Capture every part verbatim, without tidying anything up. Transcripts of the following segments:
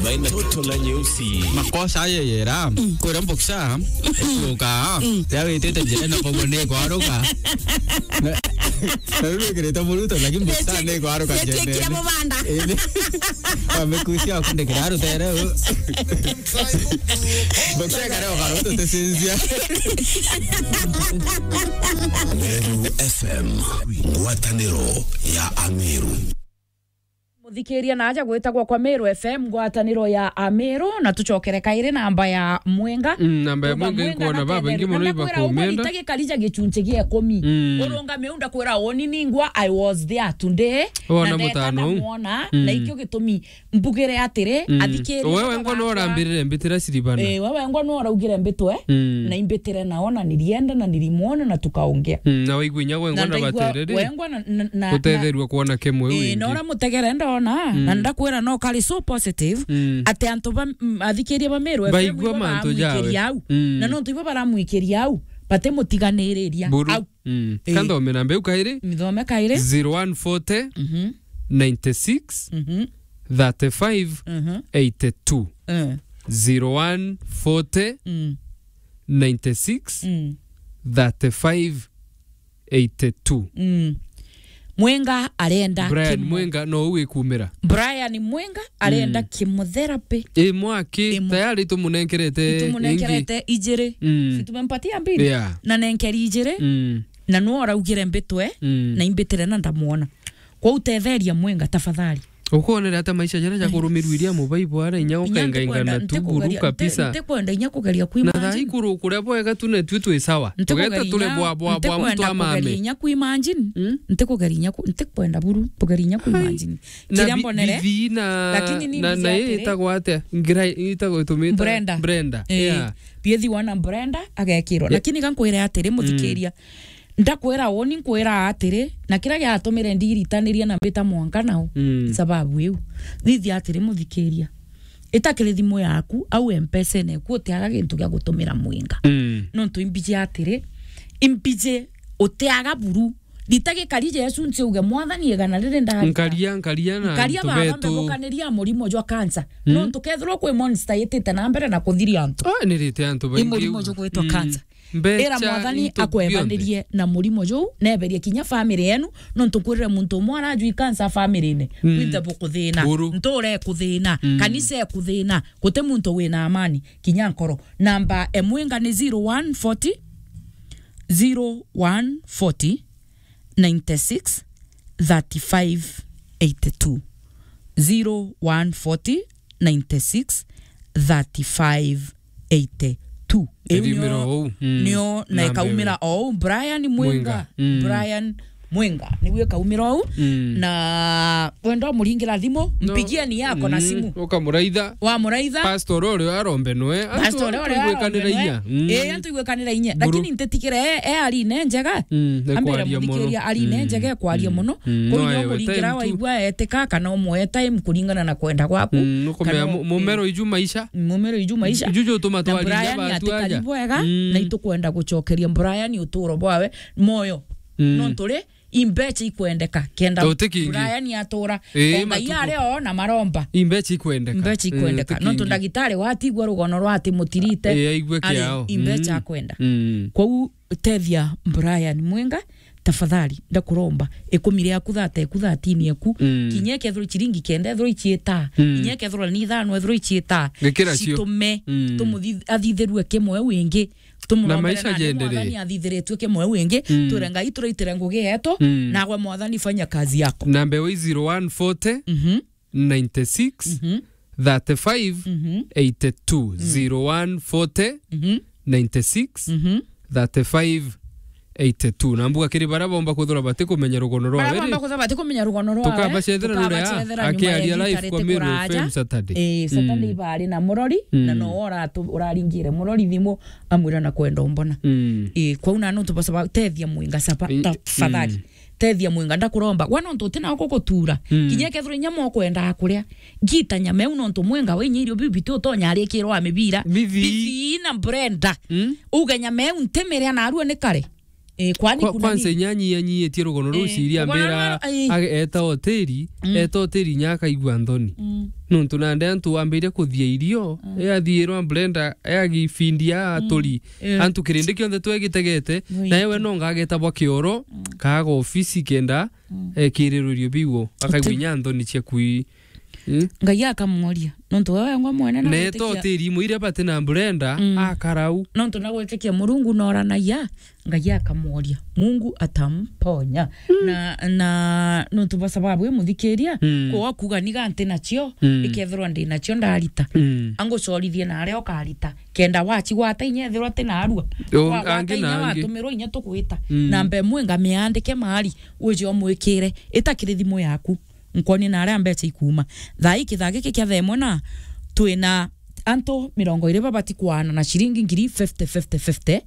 Toto la nyeusi. Makosa ayo yera. Kwira mboksa. Kuka. Ya witite njira na bobo ni kwaruka. Na, na riu wikirite muruto, lakini mboksa ni kwaruka njira. Amekusia kundikira rutere. Mboksa kare okaruto tesinzia. Meru F M, ngwataniro ya Ameru. Muthikiria na aja gwitagwa kwa Meru F M, ngwataniro ya Ameru, na tucokere kairi namba ya Mwenga. Mm, namba ya Mwenga inkwona babaingi muno ibakumenda. Ndakwira ukarija gicunci gia ikumi. Mm. Urungame u ndakwira uni ningwa, I was there today. Wona na ndeta mutano u. Ndamwona, mm, na ikio gitumi mbugire atiri, mm, athikiria. Wewe ngwa no urambirire mbitira siribana. Eh, wewe ngwa no uraugire mbitwe, mm, na imbitire nao, na nilienda, na nilimwona, na tukaongea. Mm, na waigua inya we ngwa na ndaigua batere ri? We ngwa na, na, na, gutetherua kwona kimwe u, eh, ingi. Na ura mutegere ndona, mm, na ndakwira no kari so positive, mm, ati antu ba, mm, athikiria ba Meru F M baigua ibo mantu jawe. Baramwikiria au. Mm. Na nontu ibo baramwikiria au, bati mutiganiriria. Buru. Au. Mm. Eh. Kanthome namba iu kairi. Mithome kairi. Zero one forty, mhm, ninety six, mhm, thirty five, mhm, eighty two. Eh. Zero one forty, mm, ninety six, mm, thirty five, eighty two. Mm. Mwenga arenda Brian Kimo-, Mwenga no u wikumira. Brian Mwenga arenda, mm, chemotherapy. Imwe aki, imwe. Tayari tumunenkerete. Tumunenkerete ingi ijiri. Mm. Si tumempatia mbili? Yeah. Na nenkeri ijiri. Mm. Na no araugire mbitwe, mm, na imbitire na ndamwona. Kwa utetheria Mwenga, tafadhali. Ukwonere ata maisha jaria ja kurumirwa iria mubaibu ara inya ukengaingana tu buru kabisa. Ntikwenda inya kugeria kwi imagine. Na thaa ikuru kuria bwega tu netwi twi sawa. Tugeta turi bwa, bwa, bwa mtu amame. Ntikwenda kugeria inya kwi imagine. Mm? Ntikwenda buru, kugeria inya kwi imagine. Kiria mbonere. Lakini ni na, na itagwa atia? Ngira itagwa itumita Brenda. Brenda. Eh, yeah. Bithi wana Brenda agekirwa. Yeah. Lakini ga nkwire atiri, muthikiria. Ndakwira uni, nkwira atiri, na kiria giatumire ndiritanirie na mbita mwanka nao, mm, sababu iu. Thithia atiri, muthikiria. Itakiri thimu yaku, au M-Pesa-ine eku utiaga gintu gia gutumira Mwenga. Mm. Nontu imbiji atiri, imbiji utiaga buru. Rita gikari Jesu nci uge, "Mwathani, igana riri ndaruta." Nkaria, nkaria na nkaria antu baba betu. Mbebukaniria murimo jwa cancer. Mm. Nontu kethirwa kwi monster itite na mbere na kuthiria antu. Ah, nirite antu baingi. I murimo jugwitwa, mm, cancer. Mbecha. Ira Mwathani into akwebanirie bionthe na murimo juu, neberie kinya family yenu, nontu nkwirire muntu umwe arajui cancer family-ine. Mm. Kwinthe bukuthina. Buru. Nture kuthina. Mm. Kanisa ekuthina. Guti muntu wina amani, kinya nkoro. Namba e Mwenga ni zero one forty, zero one forty, ninety six, thirty five, eighty two. Zero one forty, ninety six, thirty five, eighty two. Iu nio, ikaumira ou. Mm. Nio na namba ikaumira ou. Brian Mwenga. Mwenga. Mm. Brian Mwenga. Niwe ikaumira ou. Mm. Na wenda umuringira thimu, no, mpigie ni yako na, mm, simu. Ukamuraitha. Wamuraitha. Pastor uria arombe nwe. Pastor uria arombe nwe. Antu igwekanira inya. Mm. Eh, antu igwekanira inya. Buru. Lakini ntitikire e, e arine njega. Mm, ambire kwaria muno. Muthikiria arine, mm, njega kwaria, mm, muno. Mm, kuri no, nyo ewe muringira time tu. Waigua etika kana umwe time kuringana na kwenda gwaku. Mm, nukumenya kana mu-, mumero iju maisha. Mumero iju maisha. Iju jutuma na twariria Brian bantu atikari aja. Bwega, mm, na itukwenda gucokeria Brian uturo bwawe moyo. Mm. Nontu ri, imbecha ikwendeka. Kenda Brian atura. Ii, o Ngai matuku. Ari o na maromba. Imbecha ikwendeka. Imbecha ikwendeka. Ii, nontu ndagitari watigua rugono rwa ati mutirite. Ii, aigue ari kiao. Imbecha, mm, akwenda. Mm. Kwou tethia Brian Mwenga, tafadhali, ndakuromba, ikumi riaku thate eku, thatini eku, mm, kinya ikethirwa ciringi kenda ethirwa iciita, mm, kinya ikethirwa ni ithano ethirwa iciita, gikira cio, citume, mm, tumuthi-, athithirue kimwe wingi, tumurombe na maisha na ni jendere. Mwathani athithiritue kimwe wingi, mm, twire Ngai turaitire ngugi yetu, mm, nagwe Mwathani fanya kazi yako. Namba iu zero one forty, mhm, ninety six, mhm, thirty five, mhm, eighty two, mhm, zero one forty, mhm, ninety six, mhm, thirty five, eighty two. Na mbuga kiri baria bomba kwithirwa batikumenya rugono rwawe ri, baria bomba kwithirwa batikumenya rugono rwawe, tukabacethera ruria, tukabacethera nyuma ya akiaria live kwa Meru F M Saturday. Eh, Saturday, mm, bari na murori, mm, na no uratu-, uraringire murori thimu, amwira na kwenda umbona. Mm. Eh, kwou na nontu bacaba, tethia Mwenga caba, i-, tafadhali. Mm. Tethia Mwenga, ndakuromba. Gwa nontu uti nao gugutura. Mm. Kinya kethirwa inya mwa ukwendaa kuria. Ngita nyama iu nontu Mwenga we inya irio biu biti utonya arikirwa a mibira. Bithi. Bithi na Brenda. Mm. Uge nyama iu ntimiria narua ni kare. Eh, kwani Kwa-, kuna kwanza nini? Inya anyianyiitie rugono ruu Eh, ciria rugono ambira rwa-, ai. age-, eta hoteli, Mm. eta hoteli inya akaigua nthoni. Mm. Nontu nandi antu wambiria kuthia irio, Mm. e athiirwa Brenda, e agifindia Mm. aturi. Eh. Antu kirindi kionthe twegitegete, Wait. nae we no ngagetabwa kioro, Mm. kaaga ofisi kenda, Mm. ekirirwe irio biu, akaigua Uti- inya nthoni cia kui. Mm. Ngai akamworia, nontu we wengwa mwene na Neto gwitikia- tiri imwe iria bati na Brenda, Mm. akarau. Nontu na gwitikia Murungu noranagia, Ngai akamworia. Mungu atamponya. Mm. Na, na nontu bwa sababu imuthikiria, Mm. kwa kuga niga nti nacio, Mm. ikethirwa ndi nacio ndarita. Mm. Angucorithie na aria ukarita. Kenda wacigwata inya ethirwa ti narua. Yo, Wagwata angi na inya angi. watumirwa inya tukwita. Mm. Namba imwe ngamiandike mahari, uje umwikire. Itakiri thimu yaku. Nkwonie na aria mbeca ikuuma. Thaa ii kithaa giki kia thaa imwe na twina antu mirongo iri babati kwaana na ciringi ngiri fifty, fifty, fifty,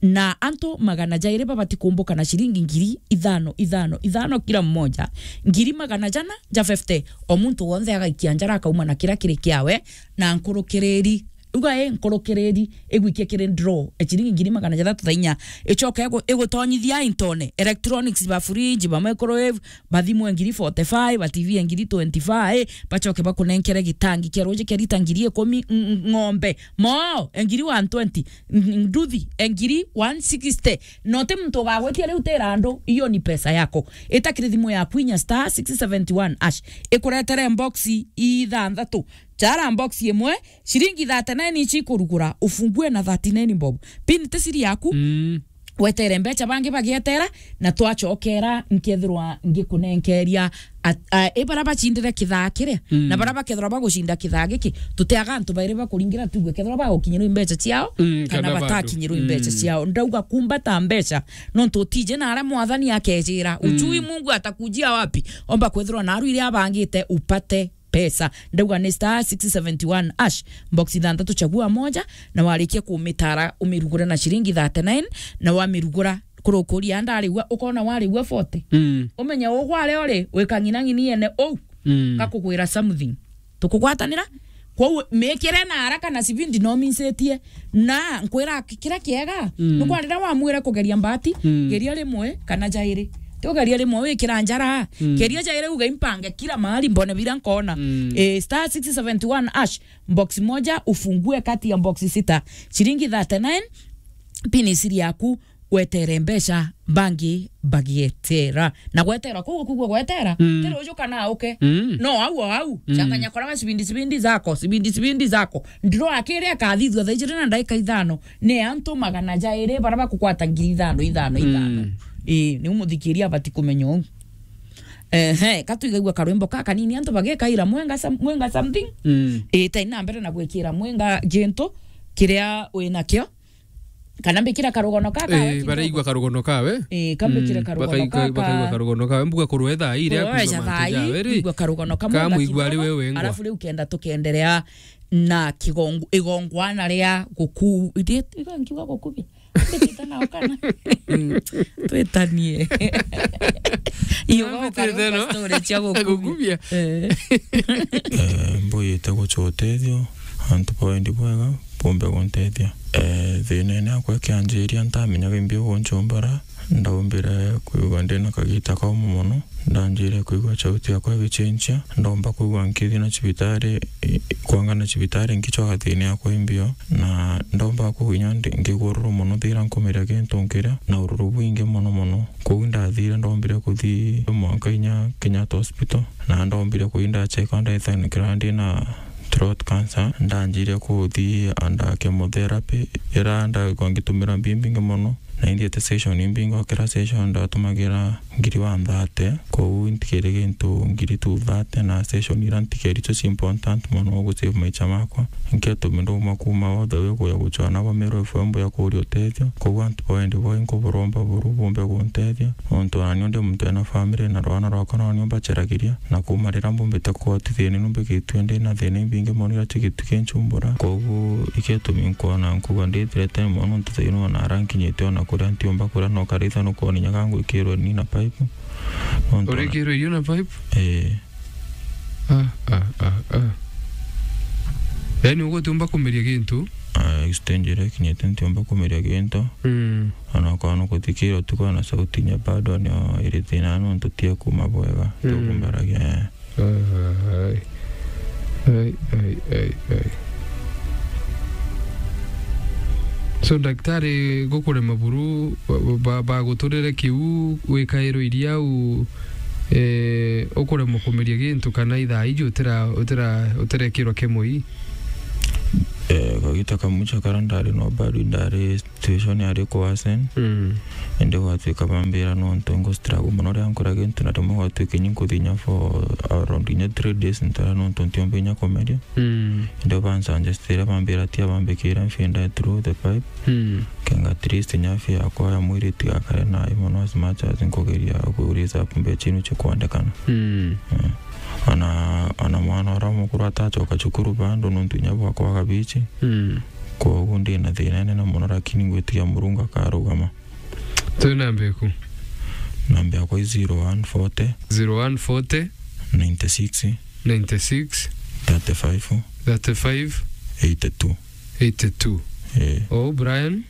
na antu magana jairi babati kumbuka na ciringi ngiri ithano, ithano, ithano kila mmoja. Ngiri magana jana ja fifty, o muntu wonthe agaikia njara akauma na kiria kiri kiawe, na nkurukiriri, uga i nkurukiriri, igwikie kiri draw, e ciringi ngiri magana jathatu thaa inya, icoke igu-, igutonyithia intone, electronics, ba fridge, ba microwave, ba thimu e ngiri forty-five, ba T V e ngiri twenty-five, bacoke bakunenkere gitangi kia ruuji kia lita ngiri ikumi, ng-, ng-, ng'ombe, moo, e ngiri one twenty, ng-, ng-, nduthi, e ngiri one sixty. No ti muntu ugagwitia riu tira andu, iyo ni pesa yako. Itakiri thimu yaku inya star six seventy one hash. Ikuretere box ithanthatu. Chara box imwe, ciringi thirty-nine ici ikurugura, ufungue na thirty-nine bob. Pin ti siri yaku. Mm. Wetere mbeca bangi bagietera, na twacokera nkethirwa ngikunenkeria at-, a, i bara bacindire kithaa kiria, Mm. na bara bakethirwa bagucinda kithaa giki, tutiaga antu bairi bakuringira tuigue kethirwa bagukinyirwa i mbeca ciao, Mm, kana kana bado. batakinyirwa i mbeca Mm. ciao. Ndauga kumbata mbeca, nontu utiji na aria mwathani akejira, Mm. ujui Mungu atakujia wapi, omba kwethirwa naru iria abangite upate pesa. Ndauga ni star six seventy one hash, box ithanthatu chagua moja, na warikia kumitara umirugure na ciringi thirty-nine, na wamirugura kurukuria ndarigua, ukona warigua forty. Mm. Umenye ugware uri, wikang'inang'ini yene uu. Mm. Gakugwira something. Tukugwatanira? Kwou mikire na haraka na cibindi no minsitie. Na nkwira ki-, kiria kiega, Mm. ni kwa riria wamwire kugeria mbati, Mm. geria rimwe kana jairi. Ti ugeria rimwe wikira njara, Mm. geria jairi uge impange kila mahali mbone biria nkona. Mm. Eh, star six seventy one hash, box moja ufungue kati ya box sita. Ciringi thirty-nine, pin isiri yaku, wetere mbeca, bangi bagietera. Na gwetera, kuu kugua gwetera, Mm. ti ruju kana uke. Mm. No, au o au, Mm. changanya koraga cibindi, cibindi zako, cibindi, cibindi zako. Ndiro akiri akathithua thaa ijiri na ndagika ithano, ni antu magana jairi bara bakugwata ngiri ithano, ithano, ithano. Mm. Ii, niu muthikiria abati kumenya uu. Ehe, ka tuigaigua karwimbo ka kanini, antu bagikaira mwenga some-, mwenga something. Mm. Ii, tai na mbere na gwikira mwenga gintu kiria winakio. Kana mbikira karugono ka, ka Eh, wiki baraigua kidogo. Karugono kawe. Eh, kambikire Mm, karugono bakaigua, ka, ka bakaigua karugono kawe. Mbuga kurwe thaa ii iria Kurwe kuigua ja mantu thaa ii, jawe ri. Kuigua karugono kamwe Ka muigua ari kidogo, we wengwa. Alafu riu kenda tukenderea na kigongo-, igongwana ria guku-, iti-, igo nkiuga gukubia? Mbikite nao kana? Mm. Twitanie. Iyo Mbikite goka no? Story cia gukubia. Gukubia? Eh. Eh, mbuyite guca utethio, antu ba wendi bwega, bumbe guntethia. Eh, thiinene akwa kianjiria, ntamenyaga imbi ugunchumbura, ndaumbire kwigua ndina kagita kaumu mono, ndanjire kwigua chauti yakwa igichinchia, ndomba kwigua nkithi na cibitari, i-, kwanga na cibitari nkichoka thiini yakwa imbio, na ndomba kwigua inya ndi-, ngigua ururu mono thiira nkumiria gintu nkiria, na ururu bwingi mono mono. Kwou ndathire ndombire kuthi mwanka inya Kenyatta Hospital, na ndombire kuthi ndachekwa ndethanikira ndina throat cancer, ndanjire kuthi under chemotherapy, ira ndaigua ngitumira mbi mbingi mono, na inthiete session imbingi, o kira session ndatumagira ngiri one thirty, kwou ntikiri gintu ngiri two thirty, na session ira ntikeri icio ci important mono gu save maicha makwa. Nketumi ndauma kuma all the way kuya guchwana ba Meru F M ya kuria utethio, kwou antu ba wendi bwai nkuburomba buru bumbe guntethia, nontu nani ndi muntu ena family na rwana rwakwa nani mbacheragiria, na kuma riria mbumbite kuotithia ni numbikitue ndi na thina imbingi mono iria chigitwi kinchumbura. Koguo iketumi nkwona nkuga ndi threaten mono nontu thaino ona ara nkinyite ona kuria ntiumba kuria no karitha nukwona inya gangwikirwe ni na pipe. Nontu ona urikirwe irio na pipe? Eh. Ah, ah, ah, ah. Yaani ugutiumba kumeria gintu? Ah, stage iria ikinyite ntiumba kumiria gintu. Mm. Ona kwa no kuthikira utuku na sauti nya bado ni iri thina nontu tie kuma bwega. Mm. Tukumbaragia, eh. Ai, ai, ai, ai. So, daktari, gukurema buru, ba-, ba-, baguturire kiu, wikairwo iria u, eh, ukuremwa kumeria gintu kana ithaa iji utira-, utira-, utirekirwa kemoi? Eh, kagita kamwe cha kara ndari no bado ndari situation yari ku worsen. Mm. Indi gwatuika bambira nontu ngu struggle mono riria nkura gintu, na rimwe gwatuika inya nkuthinya for around inya three days ntara nontu ntiumba inya kumeria. Mm. Indi bansuggestire bambira tia bambikire mfia through the pipe. Mm. Kenga at least inya afya yakwa ya mwiri itigakare nayo mono as much as nkugeria ku raise up mbecha inu chikwendekana. Mm. Eh. Ona, ona mwana uria mukuru atachoka cukuru bado nontu inya bwakwa kabichi. Mm. Koguo ndi na thina inene mono, lakini ngwitikia Murungu akarugama. Twi namba iku? Namba yakwa i zero one forty. Zero one forty. Ninety-six. Ninety-six. Thirty-five. Thirty-five. Eighty-two. Eighty-two. Eh. Oh, Brian?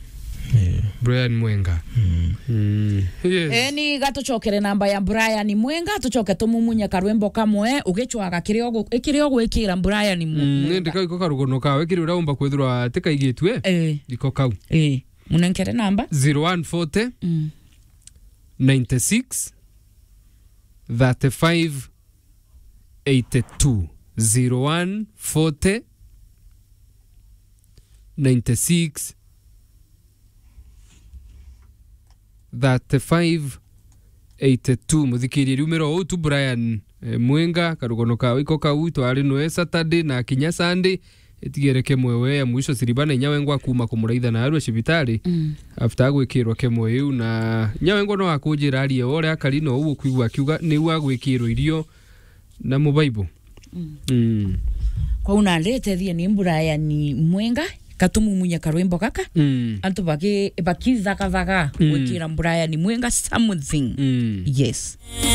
Eh. Brian Mwenga. Mm. Mm. Yes. Eni, gatucokere namba ya Brian Mwenga, tucoke tumumunye karwimbo kamwe, ugicwaga kiria ugu-, kiria ugwikira Brian Mu-, Mm, Mwenga. Nindi kau iko karugono kawe, kiri uria umba kwithirwa tikaigitue. Eh. Iko kau. Eh. Munenkere namba? Zero one forty, Mm. ninety-six, thirty-five, eighty-two. Zero one forty, ninety-six, thirty-five, eighty-two. Muthikiria, riumira uu tu Brian, eh, Mwenga, karugono kawe iko kau, twari nwe Saturday na kinya Sunday, itigere kemwe we ya mwisho siriba na inya wengwa kuma kumuraitha na arua cibitari, Mm. after agwikirwa kemwe iu, na inya wengwa no akujira arie ore akari no uu kwigua akiuga niu agwikirwa irio na mubaibo. Mm. Mm. Kwou nandi tethie ni Brian Mwenga, katumumunye karwimbo gaka. Mm. Antu baki-, bakithagabaga Mm. gwikira Brian Mwenga something. Mm. Yes.